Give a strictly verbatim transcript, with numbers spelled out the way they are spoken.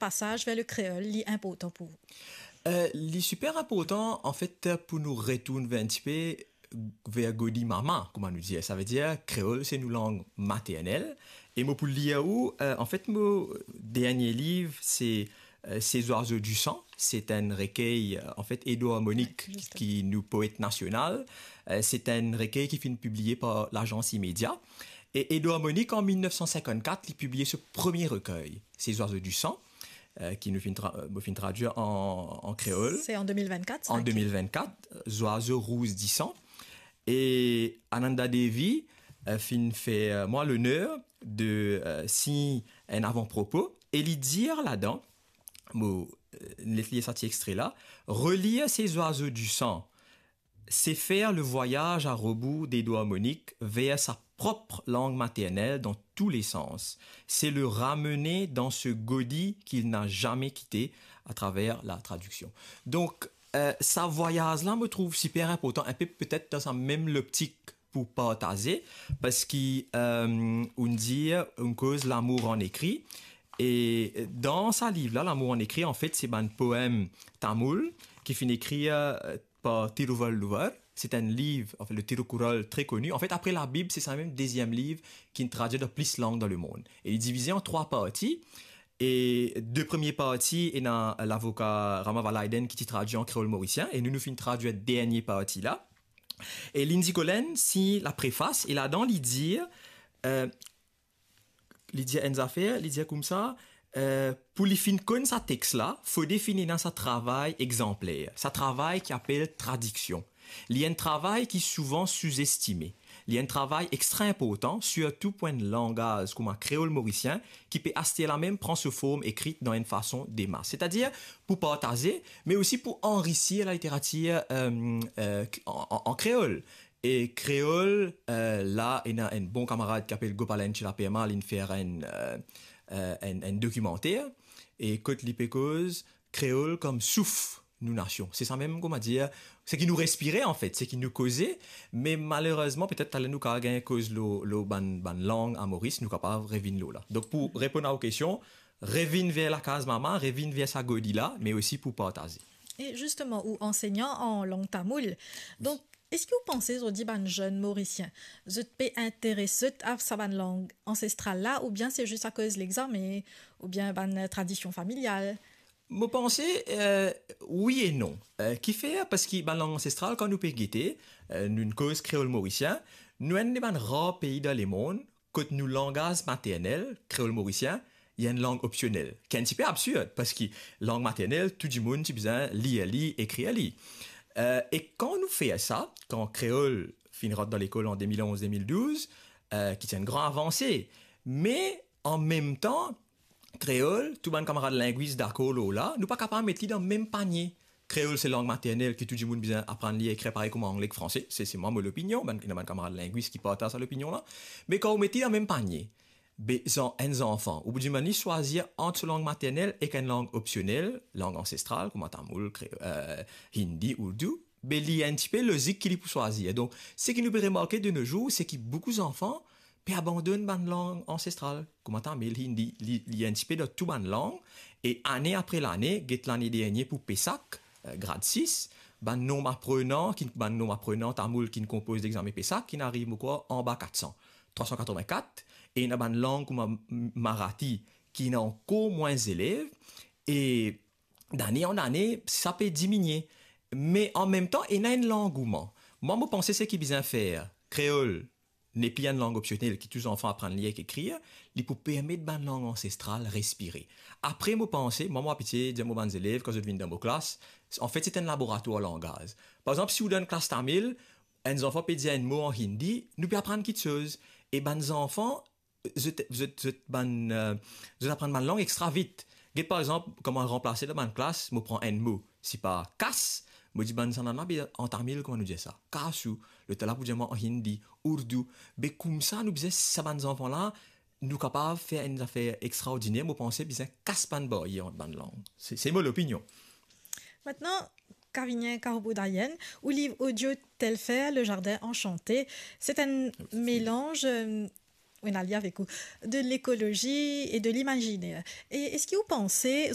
pasaz ver lekreol, li inportan pou ou? Euh, li siper inportan, anfet, pou nou retourn ver enn tipe ver godi mama, kouma nou dir. Savedir, kreol, se nou lang maternel. E mo pou lir ou, euh, anfet, mo dernie liv, se, euh, Ces oiseaux du sang. Se enn rekey, euh, anfet, Edouard Monique ki, ki nou poet nasional. Euh, se enn rekey ki finn pibliye par Lagans Imedia. E Edouard Monique, an mil nef san sinkant-kat, li pibliye so premie rekey, Ces oiseaux du sang, euh, ki nou finn tra-, euh, mo finn tradwir an, an kreol. Se an de mil vennkat, sa, an de mil vennkat, Zwazo Rouz Disan. E Ananda Devi, euh, finn fer, euh, mwa loner de, euh, sign enn avan-propo. E li dir ladan, mo, euh, les lir sa ti extre la, relir Ces oiseaux du sang, c'est faire le voyage à rebours d'Edouard Monique vers sa propre langue maternelle dans tous les sens. C'est le ramener dans ce godi qu'il n'a jamais quitté à travers la traduction. Donk, euh, sa vwayaz la, mo trouv siper inportan, inpe petet dan sa mem loptik pou partaze, parski, euh, ou'nn dir, ou'nn koz lamour an ekri, e dan sa liv la, Lamour an ekri, anfet, se bann poem tamoul ki finn ekrir, euh, par Tiruvalluvar. Se enn liv, anfet, le Tirukural, tre koni. Anfet, apre Labib, se sa mem deziem liv ki'nn tradwir dan plis lang dan lemond. E li divize an trwa parti. E de premie parti, ena lavoka Rama Valaiden ki ti tradwir an kreol morisien, e nou, nou finn tradwir dernie parti la. E Lindsay Collen sign laprefas, e ladan li dir, euh, li dir enn zafer, li dir koumsa, euh, pou li finn konn sa text la, fode finn ena sa travay exanpler, sa travay ki apel tradiksion. Li enn travay ki souvan souzestime. Li enn travay extra inportan, sirtou pou enn langaz kouma kreol morisien, ki pe aster la mem pran so form ekrit dan enn fason de mas. Setadir pou partaze, me osi pou anrisir laliteratir, euh, euh, an, an, an kreol. E kreol, euh, la, ena enn bon kamarad ki apel Gopalan Chilaperma, li'nn fer enn, euh, euh, enn, enn dokimanter, e kot li pe koz kreol kom souf nou nasion. Se sa mem, kouma dir, seki nou respire, anfet, seki nou koze, me malerezman, petet taler nou kapav gagn koz lor, lor bann, bann lang a Moris, nou kapav revinn lor la. Donk, pou reponn a ou kestion, revinn ver lakaz mama, revinn ver sa godi la, me osi pou partaze. E zisteman, ou ansegnan an lang tamoul. Donk, eski ou panse zordi bann zenn Morisien, zot pe interes zot a sa bann lang ansestral la, oubien se zis akoz lexame, oubien bann tradision familial? Mo panse, euh, wi e non. Euh, kifer? Parski bann lang ansestral, kan nou pe gete, euh, nou, nou'nn koz kreol morisien, nou enn de bann rar pei dan lemond kot nou langaz maternel, kreol morisien, li enn lang opsionel. Ki enn tipe absird, parski lang maternel, tou dimoun ti bizin lir li, ekrir li. Euh, e kan nou fer sa, kan kreol finn rant dan lekol an de mil onz, de mil douz, euh, ki ti enn gran avanse. Me an mem tan, kreol, tou bann kamarad lingwis dakor lor la, nou pa kapav met li dan mem panie. Kreol se lang maternel ki tou dimoun bizin aprann lir, ekrir parey kouma angle ek franse. Se, se mwa mo lopinion, bann, ena bann kamarad lingwis ki partaz sa lopinion la. Me kan ou met li dan mem panie, be, zan-, enn zanfan, ou pou dimann li swazir ant so lang maternel ek enn lang opsionel, lang ansestral, kouma tamoul, kre-, euh, hindi, ourdou, be li enn tipe lozik ki li pou swazir. Donk, seki nou pe remarke de nos jours, seki boukou zanfan pe abandonn bann lang ansestral, kouma tamil, hindi, li, li enn tipe dan tou bann lang, e ane apre lane, get lane dernie pou PESAC, euh, grad sis, bann nonb aprenan, ki, bann nonb aprenan tamoul ki'nn konpoz lexame PESAC, ki'nn ariv, mo krwar, anba kat san, trwa san katrovin-kat, e ena bann lang kouma m-, marathi, ki ena ankor mwins zelev, e dane an ane, sa pe diminie. Me an mem tan, ena enn langouman. Mwa, mo panse seki bizin fer, kreol nepli enn lang opsionel ki tou zanfan aprann lir ek ekrir, li pou permet bann lang ansestral respire. Apre, mo panse, mwa, mo abitie dir mo bann zelev, kan zot vinn dan mo klas, anfet, se enn laboratwar langaz. Par exanp, si ou dan enn klas tamil, enn zanfan pe dir enn mo an hindi, nou pe aprann kiksoz. E bann zanfan, zot, zot, zot bann, euh, zot aprann bann lang extra vit. Get, par exanp, kan mo ranplase dan bann klas, mo pran enn mo, sipa kas, mo dir bann sanana, be an tamil, kouma nou dir sa? Kasu. Letan la pou dir mwa an hindi, ourdou. Be koumsa, nou bizin sa bann zanfan la, nou kapav fer enn zafer extraordiner, mo panse bizin kas bann baryer ant bann lang. Se, se mo lopinion. Mintnan, Kavinia Karubodayan, ou liv audio Telfer, Le Jardin Enchanté, se enn melanz, euh, Wi, Nalia avek ou, de l'écologie et de l'imaginaire. E eski ou panse,